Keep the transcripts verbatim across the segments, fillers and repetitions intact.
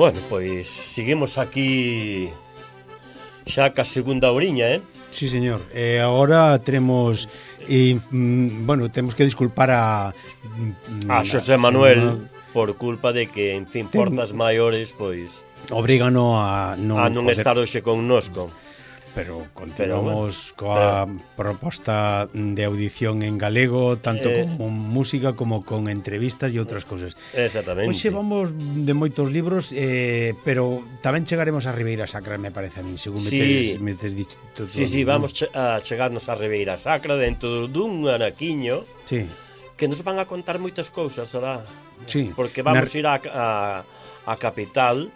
Bueno, pois seguimos aquí xa ca segunda oriña, eh? Sí, señor. E eh, agora teremos eh, mm, bueno, temos que disculpar a mm, a Xosé Manuel por culpa de que, en fin, ten... forzas maiores, pois obrígano a non, a non poder... estar hoxe connosco. Pero continuamos pero, bueno, coa pero... proposta de audición en galego, tanto eh... con música como con entrevistas e outras cousas. Exactamente. Hoxe vamos de moitos libros, eh, pero tamén chegaremos a Ribeira Sacra, me parece a min, según sí. me tes dicho. Sí, sí, vamos a chegarnos a Ribeira Sacra dentro dun anaquiño. Sí. Que nos van a contar moitas cousas, será? Sí. Porque vamos Na... ir a, a, a capital.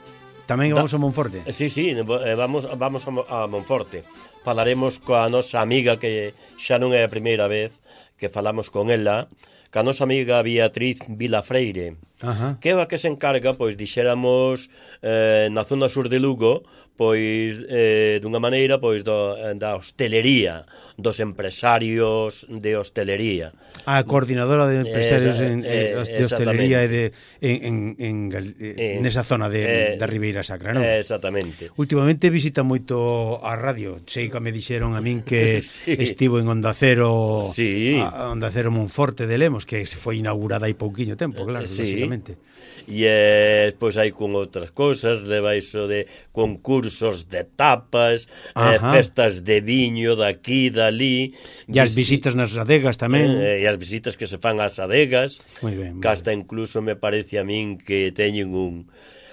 Tamén vamos da... a Monforte. Sí, sí, vamos, vamos a Monforte. Falaremos coa nosa amiga, que xa non é a primeira vez que falamos con ela, ca nosa amiga Beatriz Vilafreire. Ajá. Que é a que se encarga, pois, dixéramos, eh, na zona sur de Lugo, pois, eh, dunha maneira, pois, do, da hostelería, dos empresarios de hostelería. A coordinadora de empresarios Esa, en, eh, de hostelería e de, en, en, en, en nesa zona de, eh, da Ribeira Sacra, non? Exactamente. Últimamente visita moito a radio. Sei que me dixeron a min que sí. estivo en Onda Cero, sí. a Onda Cero Monforte de Lemos, que se foi inaugurada hai pouquiño tempo, claro, sí. lógicamente. E eh, pois hai con outras cousas, leva iso de concursos de tapas, eh, festas de viño daqui, dali. E as visitas nas adegas tamén. Eh, e as visitas que se fan ás adegas. Moi ben. Que hasta incluso me parece a min que teñen un...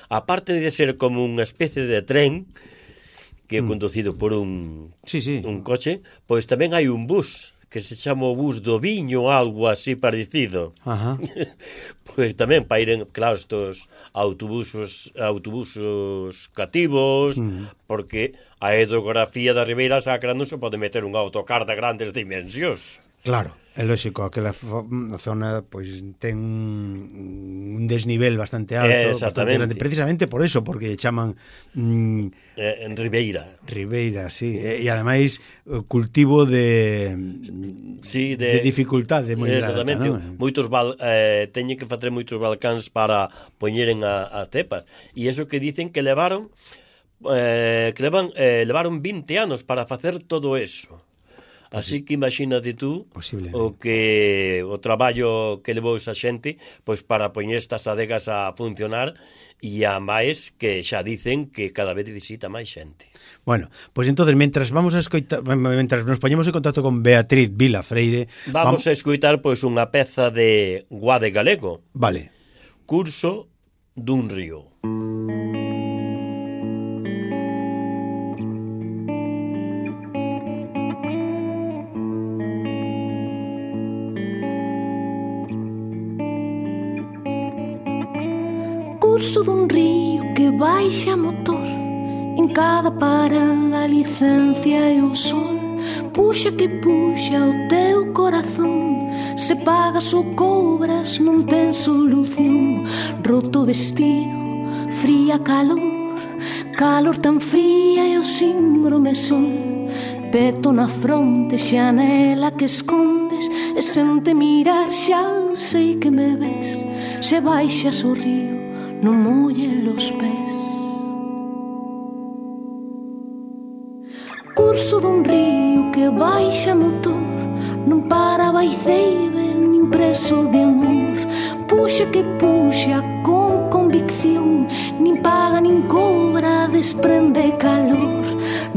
Aparte de ser como unha especie de tren que é mm. conducido por un, sí, sí. un coche, pois tamén hai un bus que se chama o bus do viño, algo así parecido. Ajá. Pois tamén para ir, claro, estos autobusos, autobusos cativos, mm. porque a hidrografía da Ribeira Sacra non se pode meter un autocar de grandes dimensións. Claro, é lógico, aquela zona pois ten un desnivel bastante alto, bastante grande, precisamente por eso, porque chaman mm, eh, en Ribeira. Ribeira, sí, e, e ademais cultivo de sí, de, de dificultade moi exactamente, alta, non? Moitos val, eh, teñen que facer moitos balcáns para poñeren a, a cepas, e iso que dicen que levaron eh, que levan, eh, levaron vinte anos para facer todo eso. Así que imagínate tú o que o traballo que levou esa xente pois para poñer estas adegas a funcionar, e a máis que xa dicen que cada vez visita máis xente. Bueno, pois pues entonces, mentras vamos a escoitar, mentras nos poñemos en contacto con Beatriz Vilafreire, vamos, vamos a escoitar pois unha peza de Guade Galego. Vale. Curso dun río. Curso dun río que baixa motor, en cada parada a licencia e o sol. Puxa que puxa o teu corazón, se pagas ou cobras non ten solución. Roto vestido, fría calor, calor tan fría e o síndrome sol. Peto na fronte, xanela que escondes, e sente mirar xa sei que me ves. Se baixas o río, non molle los pés. Curso dun río que baixa motor, non para baiceide nin preso de amor. Puxa que puxa con convicción, nin paga nin cobra, desprende calor.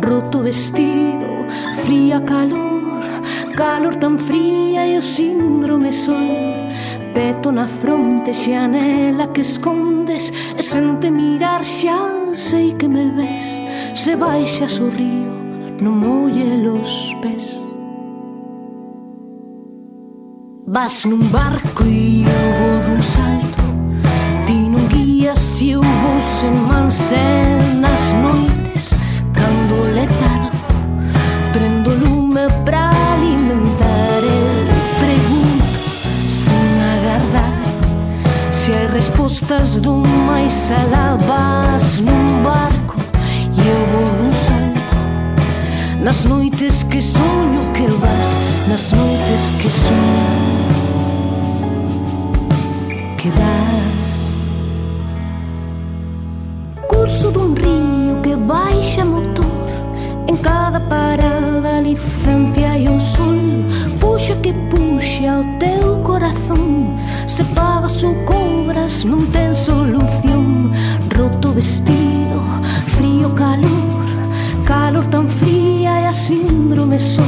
Roto vestido, fría calor, calor tan fría e o síndrome sol. Peto na fronte, xanela que escondes, e sente mirar xa sei que me ves. Se baixas o río, non molle los pés. Vas nun barco e eu vou dun salto, ti non guías e eu vou sen manse nas noites. Cando letado, prendo lume pra alimentar el pregunto, sen agardar, se hai respostas do máis alá. Vas nun barco e eu vou dun nas noites que soño que vas, nas noites que soño que vas. Curso dun río que baixa motor, en cada parada a licencia e o sol. Puxa que puxa o teu corazón, se pagas ou cobras non ten solución. Roto vestido, frío calor, calor tan fría e a síndrome sol.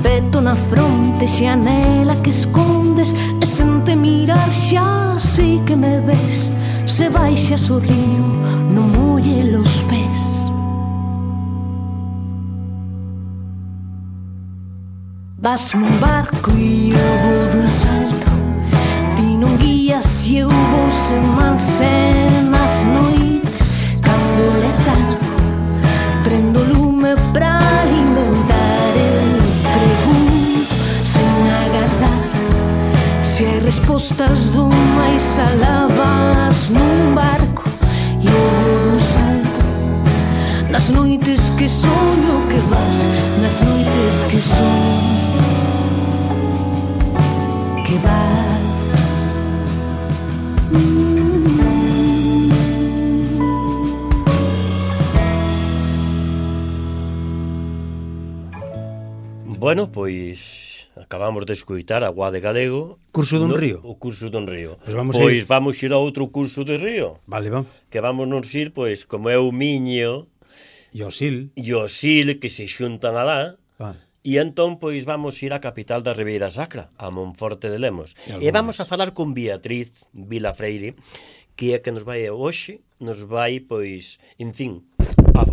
Peto na fronte, xanela que escondes, e sen te mirar xa sei que me ves. Se baixas o río, non molle los pés. Vas nun barco e eu vou dun salto, ti non guías e eu vou sen manse. Nas noites, cando le tardo, prendo lume pra alimentar. Eu pregunto sen agardar se hai respostas do máis alá. Vas nun barco e eu vou dun salto, nas noites que soño que vas, nas noites que soño que vas. Bueno, pois acabamos de escoitar Agua de Galego. Curso dun no, río. O curso dun río. Pois vamos, pois ir... vamos ir a outro curso de río. Vale, vamos. Que vamos nos ir, pois, como é o Miño e o Sil, e o Sil que se xuntan alá. Ah. E entón, pois, vamos ir á capital da Ribeira Sacra, a Monforte de Lemos. E, e vamos a falar con Beatriz Vilafreire, que é que nos vai hoxe, nos vai, pois, en fin, a,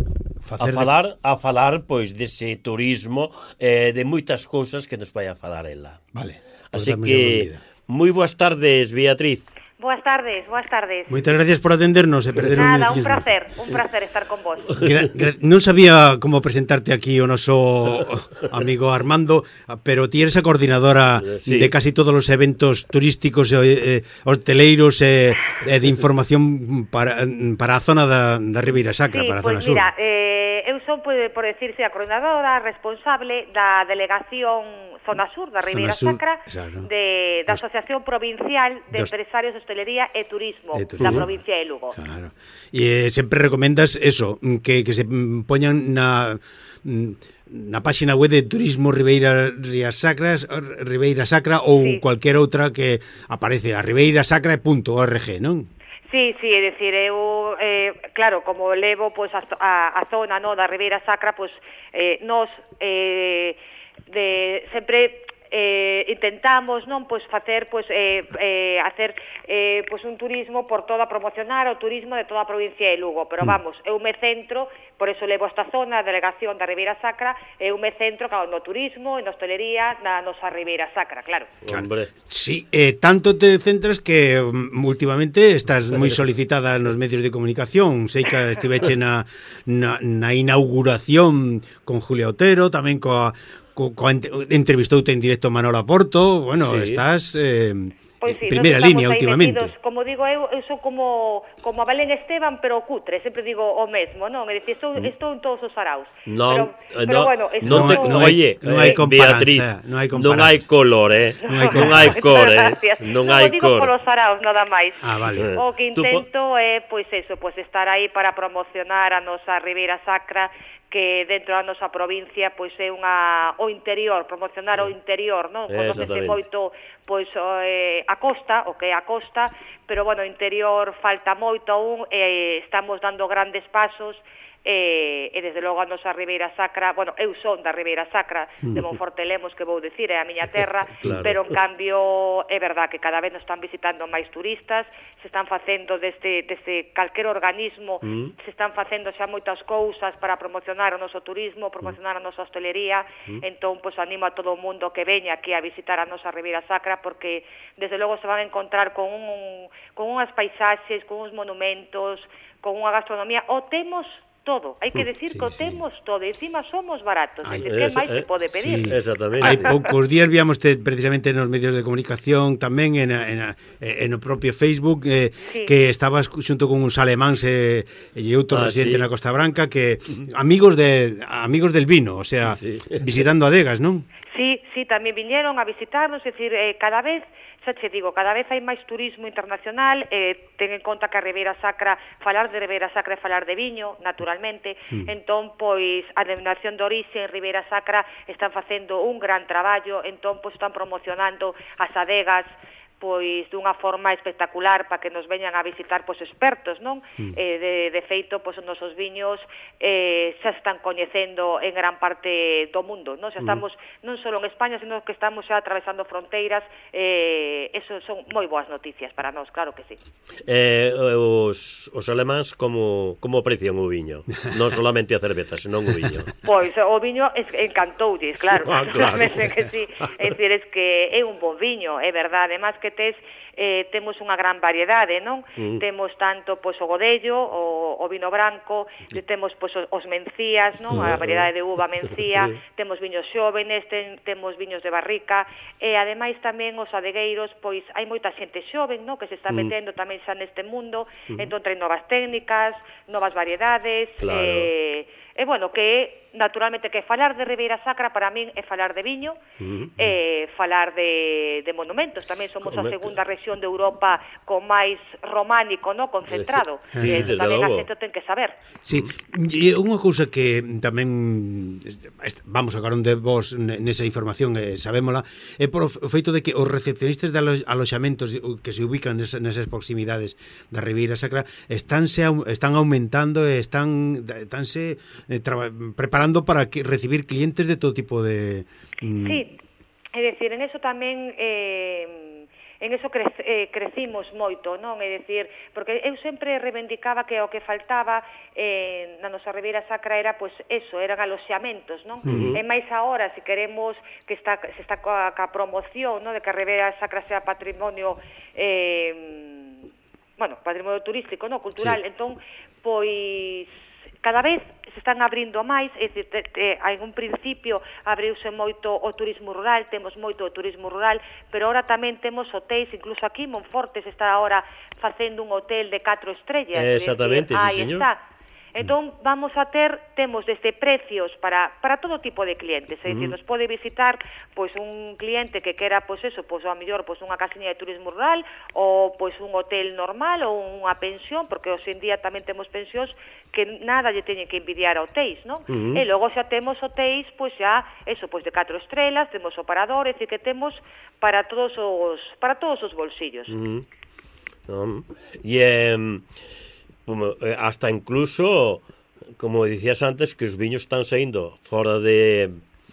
a falar, de... a falar, pois, dese turismo, eh, de moitas cousas que nos vai a falar ela. Vale. Así que, moi boas tardes, Beatriz. Boas tardes, boas tardes. Moitas gracias por atendernos e perder un Nada, un placer, un placer estar con vos. Gra gra non sabía como presentarte aquí o noso amigo Armando, pero ti eres a coordinadora sí. de casi todos os eventos turísticos e eh, hoteleiros e eh, de información para, para a zona da, da Ribeira Sacra, sí, para a pues zona sur. Mira, eh, eu son, por, por decirse, a coordinadora responsable da delegación Zona Sur da Ribeira Sur, Sacra, claro. de, da Asociación Provincial de Dos... Empresarios de Hostelería e Turismo, e turismo da provincia de Lugo. Claro. E eh, sempre recomendas eso, que, que se poñan na na páxina web de Turismo Ribeira Rías Sacras, Ribeira Sacra ou sí. cualquier outra que aparece a ribeirasacra punto org, non? Sí, sí, é dicir, eu, eh, claro, como levo pois, a, a, a zona no, da Ribeira Sacra, pois, eh, nos eh, de, sempre eh, intentamos non pois facer pois eh, eh, hacer eh, pois un turismo por toda, promocionar o turismo de toda a provincia de Lugo, pero vamos, eu me centro, por eso levo esta zona, a delegación da Ribeira Sacra, eu me centro claro, no turismo, en hostelería, na nosa Ribeira Sacra, claro. Hombre. Sí, eh, tanto te centras que um, últimamente estás moi solicitada nos medios de comunicación, sei que estiveche na, na, na inauguración con Julia Otero, tamén coa Co, co, entrevistoute en directo Manolo Porto, bueno, sí. estás eh, pois sí, primeira línea últimamente. Metidos, como digo eu, eu sou como como a Belén Esteban, pero cutre, sempre digo o mesmo, non? É dicir, estou, estou en todos os araus. Non, pero, pero no, bueno, non te, no, oye, non hai Beatriz, non hai non hai color, eh? Non hai cor, eh? Non hai cor. Non digo polos araus, nada máis. Ah, vale. O que intento é, pois eso, pois estar aí para promocionar a nosa Ribeira Sacra, que dentro da nosa provincia pois é unha o interior, promocionar o interior, non? Conócese moito pois eh, a costa, o que é a costa, pero bueno, o interior falta moito aún, e eh, estamos dando grandes pasos. E, e desde logo a nosa Ribeira Sacra, bueno, eu son da Ribeira Sacra de Monforte Lemos, que vou dicir, é a miña terra, claro. Pero en cambio é verdad que cada vez nos están visitando máis turistas, se están facendo desde, desde calquer organismo, mm. se están facendo xa moitas cousas para promocionar o noso turismo, promocionar a nosa hostelería, mm. entón, pois, animo a todo o mundo que veña aquí a visitar a nosa Ribeira Sacra, porque desde logo se van a encontrar con, un, con unhas paisaxes, con uns monumentos, con unha gastronomía, o temos todo. Hai que decir sí, que o sí. temos todo, e encima somos baratos. Ay, Que esa, máis se eh, pode pedir? Sí. Exactamente. Hai poucos días víamos te, precisamente nos medios de comunicación tamén en, a, en, a, en o propio Facebook eh, Sí. que estabas xunto con uns alemáns e, e outro Ah, residente sí. na Costa Branca que amigos de amigos del vino, o sea, Sí. visitando adegas, non? Sí, sí, tamén viñeron a visitarnos, é dicir, eh, cada vez, xa che digo, cada vez hai máis turismo internacional, eh, ten en conta que a Ribeira Sacra, falar de Ribeira Sacra é falar de viño, naturalmente, mm. entón, pois, a denominación de orixe en Ribeira Sacra están facendo un gran traballo, entón, pois, están promocionando as adegas, pois dunha forma espectacular para que nos veñan a visitar pois expertos, non? Mm. Eh, de, de feito, pois os nosos viños eh, xa están coñecendo en gran parte do mundo, non? Xa estamos mm. non só en España, sino que estamos xa atravesando fronteiras, eh, eso son moi boas noticias para nós, claro que sí. Eh, os, os alemáns como, como aprecian o viño? Non solamente a cerveza, senón o viño. Pois o viño es, encantoulles, claro. Ah, claro. que sí. É dicir, es que é un bo viño, é verdade, además que tes, eh, temos unha gran variedade, non? Mm. Temos tanto pois o godello, o, o vino branco, sí. temos pois os mencías, non? A variedade de uva mencía, temos viños xóvenes, ten, temos viños de barrica, e ademais tamén os adegueiros, pois hai moita xente xoven, non? Que se está metendo mm. tamén xa neste mundo, mm. entón traen novas técnicas, novas variedades, claro. eh, e bueno, que naturalmente que falar de Ribeira Sacra para min é falar de viño, uh-huh. e falar de, de monumentos. Tamén somos a segunda rexión de Europa con máis románico, no, concentrado. Sí, e desde tamén logo. a xente ten que saber. Sí, e unha cousa que tamén vamos a carón de vos nesa información, eh, sabémola, é por o feito de que os recepcionistas de alo aloxamentos que se ubican nesas, nesas proximidades da Ribeira Sacra estánse, están aumentando e están estánse eh, preparando para que recibir clientes de todo tipo de... Mm... Sí, é dicir, en eso tamén... Eh, en eso cre, eh, crecimos moito, non? É dicir, porque eu sempre reivindicaba que o que faltaba eh, na nosa Ribeira Sacra era, pois, eso, eran aloxamentos, non? Uh-huh. E máis agora, se queremos que está, se está coa, coa promoción, non? De que a Ribeira Sacra sea patrimonio... Eh, bueno, patrimonio turístico, non? Cultural, sí. Entón, pois... cada vez se están abrindo máis, é dicir, te, te, en un principio abriuse moito o turismo rural, temos moito o turismo rural, pero ahora tamén temos hotéis, incluso aquí Monforte se está ahora facendo un hotel de catro estrellas. Exactamente, decir, sí, aí señor. está. Entón, vamos a ter, temos desde precios para, para todo tipo de clientes, é dicir, uh -huh. nos pode visitar pois un cliente que quera, pois eso, pois a mellor pois unha casiña de turismo rural ou pois un hotel normal ou unha pensión, porque hoxe en día tamén temos pensións que nada lle teñen que envidiar a hotéis, non? Uh -huh. E logo xa temos hotéis, pois xa, eso, pois de catro estrelas, temos o parador, é dicir, que temos para todos os para todos os bolsillos. Uh -huh. um, e um... hasta incluso, como dicías antes, que os viños están saindo fora de...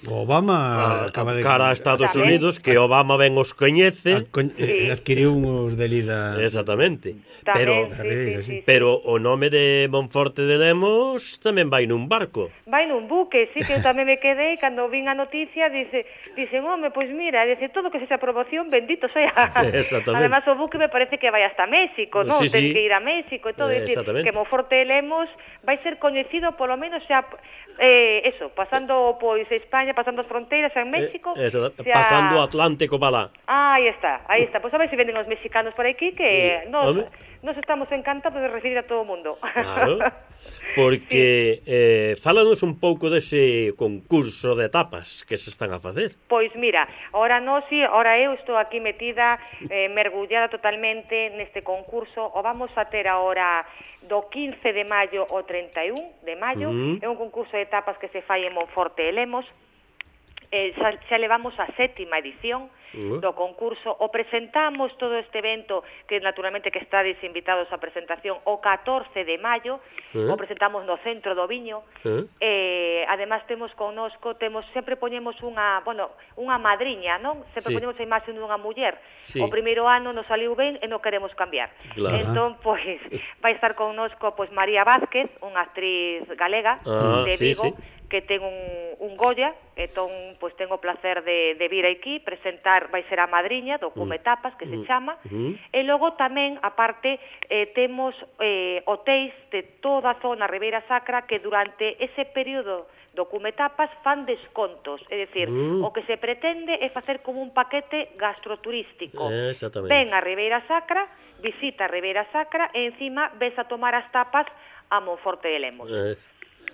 Obama a, acaba de... cara a Estados Unidos, que Obama ben os coñece, co sí. adquiriu uns de lida. Exactamente. Tamén, pero sí, sí, sí, sí. pero o nome de Monforte de Lemos tamén vai nun barco. Vai nun buque, sí, que eu tamén me quedei cando vin a noticia, dice, dicen, home, pois mira, dice, todo que sexa promoción, bendito sea. Exactamente. Además o buque me parece que vai hasta México, non? Sí, Ten sí. que ir a México e todo, Eh, decir, que Monforte de Lemos vai ser coñecido polo menos xa eh, eso, pasando pois España, pasando as fronteiras en México, eh, xa... xa... pasando o Atlántico para lá. Ah, aí está, aí está. Pois a ver se venden os mexicanos por aquí, que Sí. nos, Home. nos estamos encantados de recibir a todo o mundo. Claro, porque sí. eh, fálanos un pouco dese concurso de tapas que se están a facer. Pois mira, ahora no, si, ahora eu estou aquí metida, eh, mergullada totalmente neste concurso, o vamos a ter ahora do quince de maio ao treinta e un de maio, uh -huh. é un concurso de tapas que se fai en Monforte de Lemos, eh, xa, xa levamos a sétima edición uh -huh. do concurso, o presentamos todo este evento, que naturalmente que estades invitados á presentación, o catorce de maio, uh -huh. o presentamos no Centro do Viño, uh -huh. eh, además temos connosco, temos sempre poñemos unha, bueno, unha madriña, non? Sempre sí. poñemos a imaxe dunha muller. Sí. O primeiro ano nos saliu ben e non queremos cambiar. Claro. Entón, pois, vai estar connosco pois María Vázquez, unha actriz galega, ah, de Vigo, sí, sí. que ten un, un Goya, entón, pois tengo o placer de, de vir aquí, presentar, vai ser a madriña do Cume Tapas, que se chama, uh-huh. e logo tamén, aparte, eh, temos eh, hotéis de toda a zona Ribeira Sacra que durante ese período do Cume Tapas fan descontos, é dicir, uh. o que se pretende é facer como un paquete gastroturístico. Eh, exactamente. Ven a Ribeira Sacra, visita a Ribeira Sacra e encima ves a tomar as tapas a Monforte de Lemos. Eh.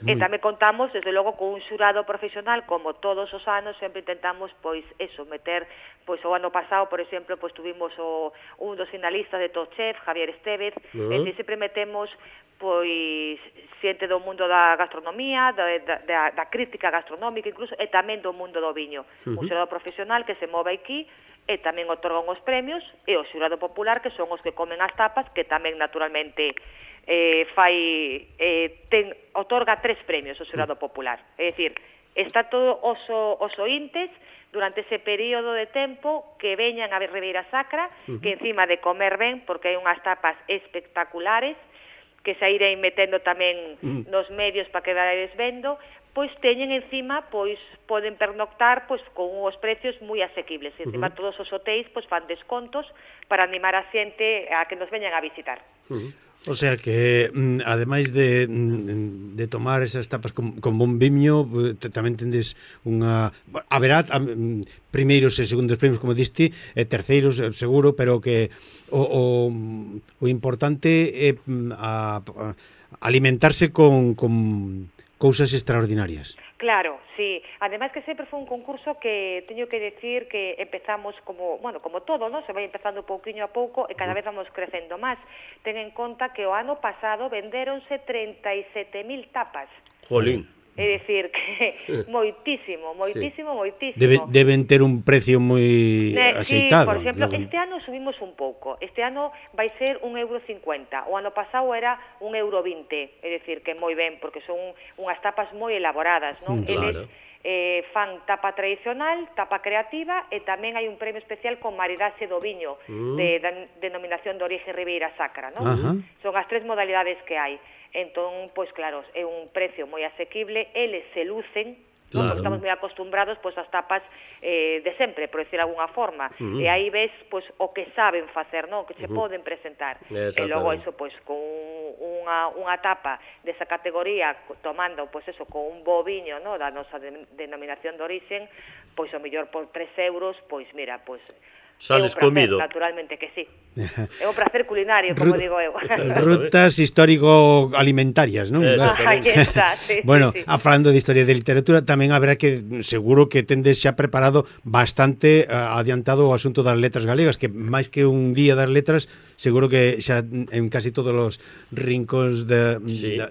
E tamén contamos, desde logo, con un xurado profesional, como todos os anos, sempre intentamos, pois, eso, meter, pois, o ano pasado, por exemplo, pois, tuvimos o, un dos finalistas de Top Chef, Javier Estevez, uh-huh. e sempre metemos, pois, xente do mundo da gastronomía, da, da, da crítica gastronómica, incluso, e tamén do mundo do viño. Uh-huh. Un xurado profesional que se move aquí, e tamén otorgan os premios, e o xurado popular, que son os que comen as tapas, que tamén, naturalmente, eh, fai eh, ten, otorga tres premios o xurado popular. É dicir, está todo os, os ointes durante ese período de tempo que veñan a Ribeira Sacra, uh-huh. que encima de comer ben, porque hai unhas tapas espectaculares, que se irei metendo tamén uh-huh. nos medios para que vades vendo, pois teñen encima, pois poden pernoctar pois con uns precios moi asequibles. E encima uh-huh. todos os hotéis pois fan descontos para animar a xente a que nos veñan a visitar. Uh-huh. O sea que, ademais de, de tomar esas tapas con, con bon viño, tamén tendes unha... Haberá primeiros e segundos premios, como diste, e terceiros, seguro, pero que o, o, o importante é a, a alimentarse con, con cousas extraordinarias. Claro, sí. Ademais que sempre foi un concurso que teño que decir que empezamos como, bueno, como todo, ¿no? Se vai empezando pouquiño a pouco e cada vez vamos crecendo máis. Ten en conta que o ano pasado vendéronse trinta e sete mil tapas. Jolín. É dicir, que moitísimo, moitísimo, sí. moitísimo. Debe, deben ter un precio moi eh, aceitado. Sí, por exemplo, luego... este ano subimos un pouco. Este ano vai ser un euro cincuenta. O ano pasado era un euro vinte. É dicir, que moi ben, porque son unhas tapas moi elaboradas, non? Mm, claro. Eles eh, fan tapa tradicional, tapa creativa, e tamén hai un premio especial con maridaxe do viño, mm. de, de denominación de orixe Ribeira Sacra, non? Uh-huh. Son as tres modalidades que hai. Entón, pois claro, é un precio moi asequible, eles se lucen, claro. Porque estamos moi acostumbrados pois as tapas eh, de sempre, por decir alguna forma, uh-huh. e aí ves pois o que saben facer, non? Que se uh-huh. poden presentar. E logo iso pois con unha unha tapa desa categoría tomando pois eso con un bo viño, no, da nosa de, denominación de orixen, pois o mellor por tres euros, pois mira, pois sales é un placer, comido. Naturalmente que sí. É un placer culinario, como Rut, digo eu. Rutas histórico-alimentarias, non? Aí está, sí, bueno, sí, sí. A falando de historia de literatura, tamén haberá que, seguro que tendes xa preparado bastante uh, adiantado o asunto das letras galegas, que máis que un día das letras, seguro que xa en casi todos os rincóns de... Sí. de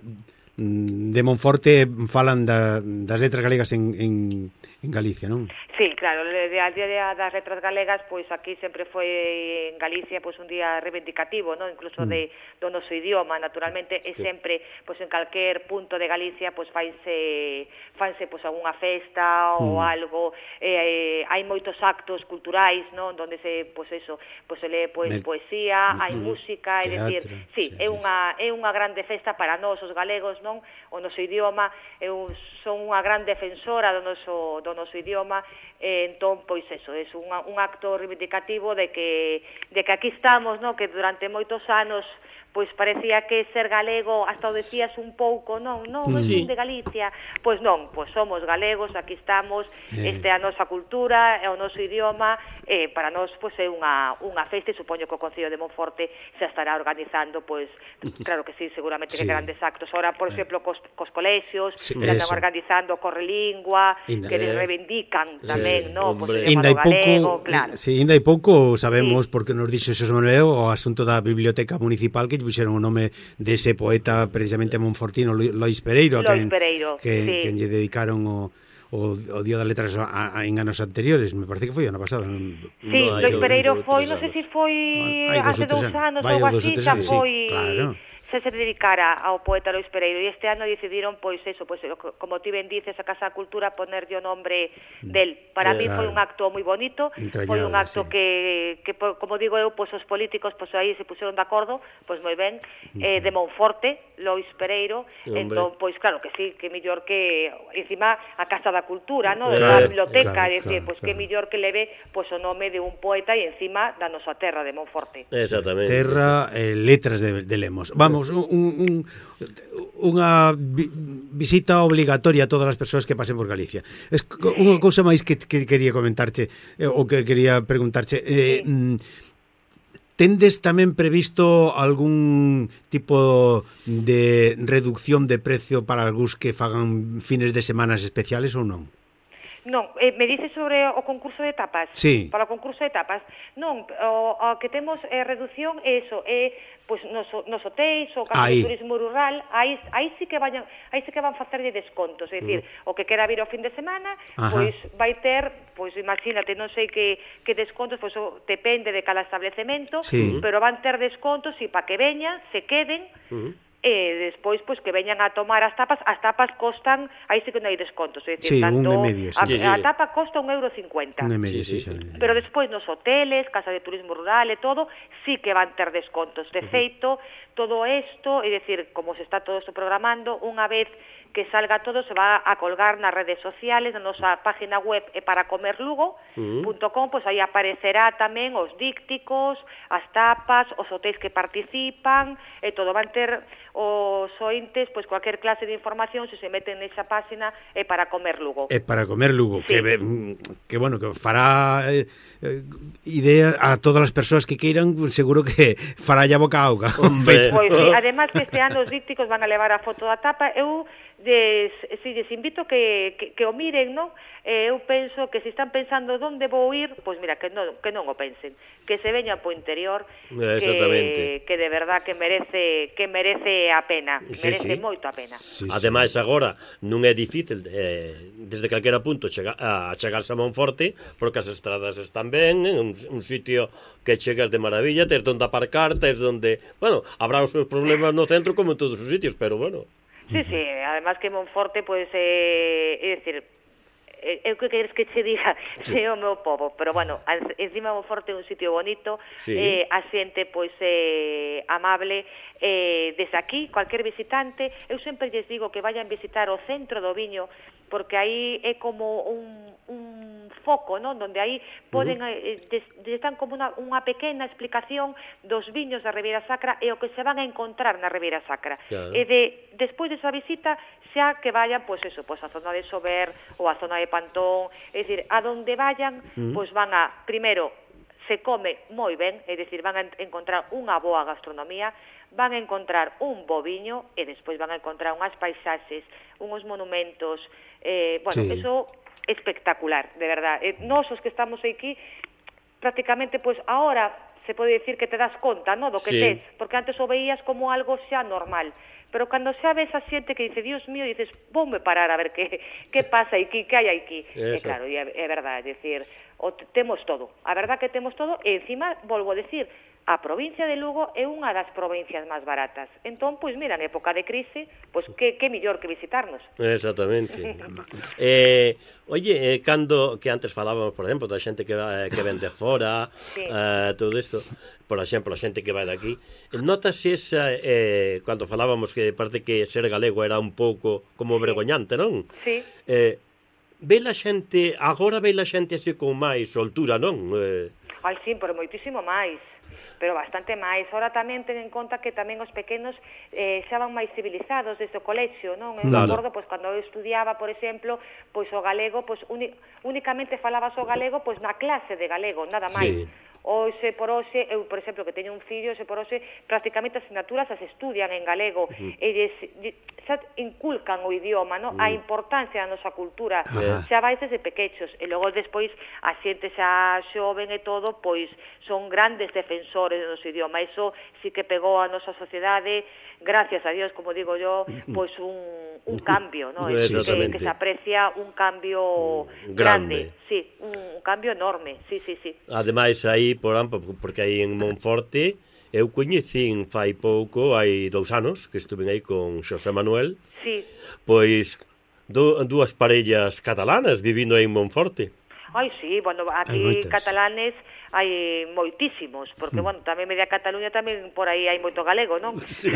de Monforte falan da, das letras galegas en, en, en Galicia, non? Sí, claro, a día das letras galegas, pois aquí sempre foi en Galicia pois un día reivindicativo, non? Incluso mm. de do noso idioma, naturalmente, e sempre pois en calquer punto de Galicia pois faise fanse pois algunha festa ou mm. algo, eh, hai moitos actos culturais, non? Donde se pois eso, pois se lee pois Me... poesía, hai mm. música, é dicir, sí, sí, é unha é unha grande festa para nós os galegos, non? O noso idioma, eu son unha gran defensora do noso do noso idioma, e entón pois eso, é un un acto reivindicativo de que de que aquí estamos, no, que durante moitos anos pois parecía que ser galego hasta o decías un pouco, non, non, non sí. de Galicia, pois non, pois somos galegos, aquí estamos, eh. este é a nosa cultura, é o noso idioma, e para nós pois é unha unha festa, e supoño que o Concello de Monforte se estará organizando, pois claro que sí, seguramente sí. que grandes actos. Ahora, por exemplo, cos, cos colexios, sí, que están organizando Correlingua, Inda, que les reivindican sí, tamén, sí, no, pois o idioma galego, claro. Sí, ainda hai pouco sabemos, sí. porque nos dixo Xosé Manuel, o asunto da Biblioteca Municipal, que puxeron o nome dese poeta precisamente monfortino, Lois Pereiro, Lois que, Pereiro que, sí. que lle dedicaron o, o, o Día das Letras a, a, en anos anteriores, me parece que foi ano pasado. Non, sí, no, Lois Pereiro foi, non sei se foi hace dous anos ou así, xa foi... Claro. se se dedicara ao poeta Lois Pereiro, e este ano decidiron, pois eso, pois como ti ben dices, a Casa da Cultura ponerlle o nombre del. Para mí foi un acto moi bonito, foi un acto que, que como digo eu, pois os políticos pois aí se puseron de acordo, pois moi ben, eh, de Monforte, Lois Pereiro, entón, pois claro que sí, que mellor que encima a Casa da Cultura, no, a biblioteca, é dicir, pois que mellor que leve pois o nome de un poeta e encima da nosa terra de Monforte. Exactamente. Terra, eh, letras de, de Lemos. Vamos, un, un, unha vi, visita obligatoria a todas as persoas que pasen por Galicia. Es unha cousa máis que, que quería comentarche, eh, ou que quería preguntarche. Eh, sí. Tendes tamén previsto algún tipo de reducción de precio para algúns que fagan fines de semanas especiales ou non? Non, eh, me dices sobre o concurso de tapas? Sí. Para o concurso de tapas? Non, o, o que temos eh, reducción é eso, é pois nos, nos hotéis, o caso de turismo rural, aí, aí sí que vayan, aí sí que van facerlle descontos, é dicir, uh. o que quera vir ao fin de semana, Ajá. pois vai ter, pois imagínate, non sei que, que descontos, pois o, depende de cada establecemento, sí. pero van ter descontos e para que veñan, se queden, uh. e despois pois que veñan a tomar as tapas, as tapas costan, aí sí que non hai descontos, é dicir, sí, tanto un e medio, sí. a, sí, sí. a tapa costa un euro cincuenta. Un e medio, sí, sí, sí, sí. Pero despois nos hoteles, casa de turismo rural e todo, sí que van ter descontos. De feito, todo isto, é dicir, como se está todo isto programando, unha vez que salga todo se va a colgar nas redes sociales, na nosa página web é para comer lugo punto com, pois aí aparecerá tamén os dícticos, as tapas, os hotéis que participan, e todo van ter os ointes, pois cualquier clase de información, se se meten nesa página, é para comer lugo. É para comer lugo, sí. que, que bueno, que fará eh, idea a todas as persoas que queiran, seguro que fará ya boca a auga. Pois sí, además que este ano os dícticos van a levar a foto da tapa, eu Des, si les invito que, que, que o miren, non? Eh, eu penso que se están pensando onde vou ir, pois mira, que non, que non o pensen, que se veñan po interior, que, que de verdad que merece que merece a pena, sí, merece sí. moito a pena. Sí, sí. Ademais agora non é difícil eh, desde calquera punto chega, a chegarse a Monforte, porque as estradas están ben, un, un sitio que chegas de maravilla, tes donde aparcar, tes donde, bueno, habrá os seus problemas no centro como en todos os sitios, pero bueno. Sí, sí, además que Monforte, pois, pues, eh, é dicir, eu que queres que che diga, sí. é o meu povo, pero bueno, encima Monforte é un sitio bonito, sí. eh, a xente, pois, eh, amable, eh, desde aquí, cualquier visitante, eu sempre lles digo que vayan visitar o centro do viño, porque aí é como un, un foco, non? Donde aí poden, uh -huh. eh, des, están como unha, unha pequena explicación dos viños da Ribeira Sacra e o que se van a encontrar na Ribeira Sacra. Claro. E de, despois desa visita, xa que vayan, pois eso, pois a zona de Sober ou a zona de Pantón, é dicir, a donde vayan, uh -huh. pois van a, primeiro, se come moi ben, é dicir, van a encontrar unha boa gastronomía, van a encontrar un bo viño e despois van a encontrar unhas paisaxes, uns monumentos, eh, bueno, sí. eso espectacular, de verdad. Eh, nós os que estamos aquí, prácticamente, pois ahora se pode dicir que te das conta, no, do que sí. tes, porque antes o veías como algo xa normal. Pero cando xa ves a xente que dice, Dios mío, dices, voume parar a ver que, que pasa aquí, que hai aquí. E claro, é, é verdade, é dicir, o, temos todo. A verdad que temos todo, e encima, volvo a decir, a provincia de Lugo é unha das provincias máis baratas. Entón, pois mira, en época de crise, pois que, que mellor que visitarnos. Exactamente. eh, oye, eh, cando, que antes falábamos, por exemplo, da xente que, va, que vende fora, sí. eh, todo isto, por exemplo, a xente que vai daqui, notas esa, eh, cando falábamos que parece que ser galego era un pouco como vergoñante, non? Sí. Eh, ve la xente, agora ve la xente así con máis soltura, non? Eh... Ai, sí, pero moitísimo máis. Pero bastante máis. Ahora tamén ten en conta que tamén os pequenos eh, xa van máis civilizados desde o colexio, non? Eu claro. me acordo, pois, cando eu estudiaba, por exemplo, pois o galego, pois, únicamente falabas o galego, pois, na clase de galego, nada máis. Sí. Hoxe por hoxe, eu, por exemplo, que teño un fillo, hoxe por hoxe, prácticamente as asignaturas as estudian en galego, uh-huh. eles xa inculcan o idioma, no? Uh-huh. A importancia da nosa cultura, uh-huh. xa vais desde pequechos, e logo despois a xente xa xoven e todo, pois son grandes defensores do noso idioma, iso sí que pegou a nosa sociedade, gracias a Dios, como digo yo, pues un, un cambio, ¿no? Sí, que, que se aprecia un cambio grande, grande. Sí, un, un cambio enorme, sí, sí, sí. Ademais, aí, por exemplo, porque aí en Monforte, eu coñecín fai pouco, hai dous anos, que estuve aí con Xosé Manuel, sí. Pois do, dúas parellas catalanas vivindo aí en Monforte. Ai, sí, bueno, aquí catalanes hai moitísimos, porque, bueno, tamén media Cataluña tamén por aí hai moito galego, non? Sí.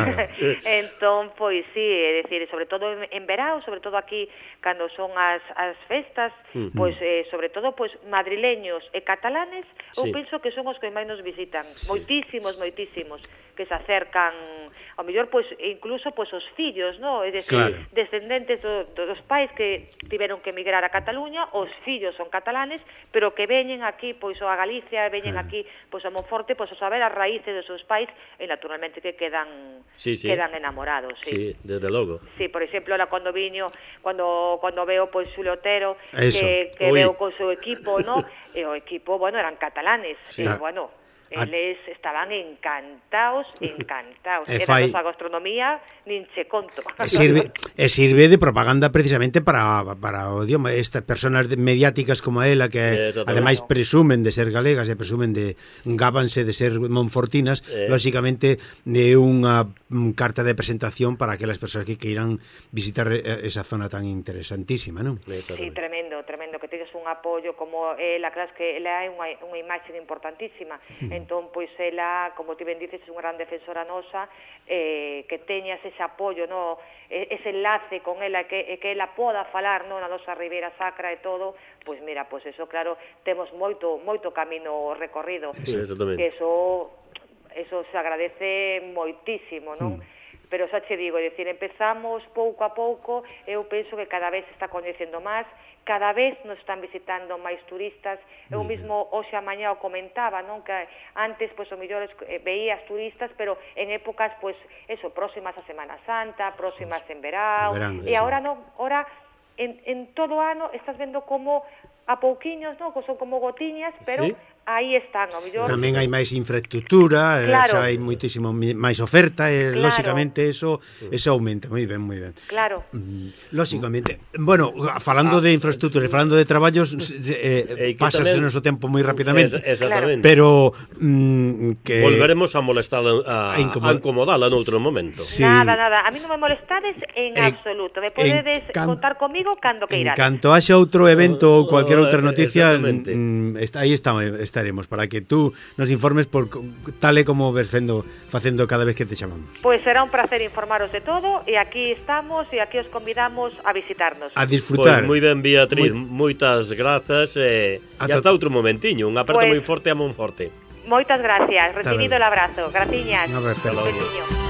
Entón, pois sí, é dicir, sobre todo en verao, sobre todo aquí, cando son as, as festas, uh-huh. pois, eh, sobre todo, pois, madrileños e catalanes, eu sí. penso que son os que máis nos visitan, sí. moitísimos, moitísimos, que se acercan, ao mellor, pois, incluso, pois, os fillos, non? É dicir, claro. descendentes do, dos pais que tiveron que emigrar a Cataluña, os fillos son catalanes, pero que veñen aquí, pois, a Galicia, veñen aquí, pois a Monforte, pois a saber as raíces dos seus pais e naturalmente que quedan sí, sí. quedan enamorados, sí. Sí, desde logo. Sí, por exemplo, la cando viño, cando cuando veo pois Xulio Otero, Eso. que que Uy. veo con seu equipo, ¿no? E o equipo, bueno, eran catalanes, sí. e bueno, eles estaban encantados, encantados. E fai... da nosa gastronomía nin che conto. E sirve, e sirve de propaganda precisamente para, para o idioma. Estas personas mediáticas como ela, que eh, ademais presumen de ser galegas e presumen de gábanse de ser monfortinas, eh. lógicamente é unha carta de presentación para aquelas persoas que queiran visitar esa zona tan interesantísima, non? Sí, tremendo, tremendo, que tedes un apoio como ela, claro, que ela é unha, unha imaxe importantísima. Mm. Entón, pois, ela, como ti ben dices, é unha gran defensora nosa, eh, que teñas ese apoio, no, ese enlace con ela, que, que ela poda falar, no, na nosa Ribeira Sacra e todo, pois mira, pois eso, claro, temos moito moito camino recorrido. Sí, exactamente. Que eso, eso se agradece moitísimo, non? Mm. Pero xa che digo, é dicir, empezamos pouco a pouco, eu penso que cada vez se está coñecendo máis, cada vez nos están visitando máis turistas. Eu mesmo hoxe a mañá o comentaba, non, que antes, pois, o mellor veías turistas, pero en épocas, pois, eso, próximas a Semana Santa, próximas en verao, Verán, e agora non, agora en, en todo ano estás vendo como a pouquiños, non, que son como gotiñas, pero ¿sí? aí están, ao mellor... Tamén hai máis infraestructura, claro. xa hai moitísimo máis oferta, e claro. lóxicamente eso eso aumenta, moi ben, moi ben. Claro. Lóxicamente, bueno, falando ah, de infraestructura e falando de traballos, eh, pasase o noso tempo moi rapidamente. Es, exactamente. Pero mm, que volveremos a molestar a, a, incomod... a incomodala noutro momento. Sí. Nada, nada, a mí non me molestades en eh, absoluto. Me podedes can... contar comigo cando queirades. En canto haxa outro evento ou cualquier outra noticia, mm, está, aí está, estaremos para que tú nos informes por tal e como ves fendo, facendo cada vez que te chamamos. Pois pues será un placer informaros de todo, e aquí estamos e aquí os convidamos a visitarnos. A disfrutar. Pois pues moi ben, Beatriz, muy... moitas grazas e eh, hasta outro momentiño, un aperto pues... moi forte a Monforte. Moitas gracias, recibido el abrazo. Graciñas. Un abrazo.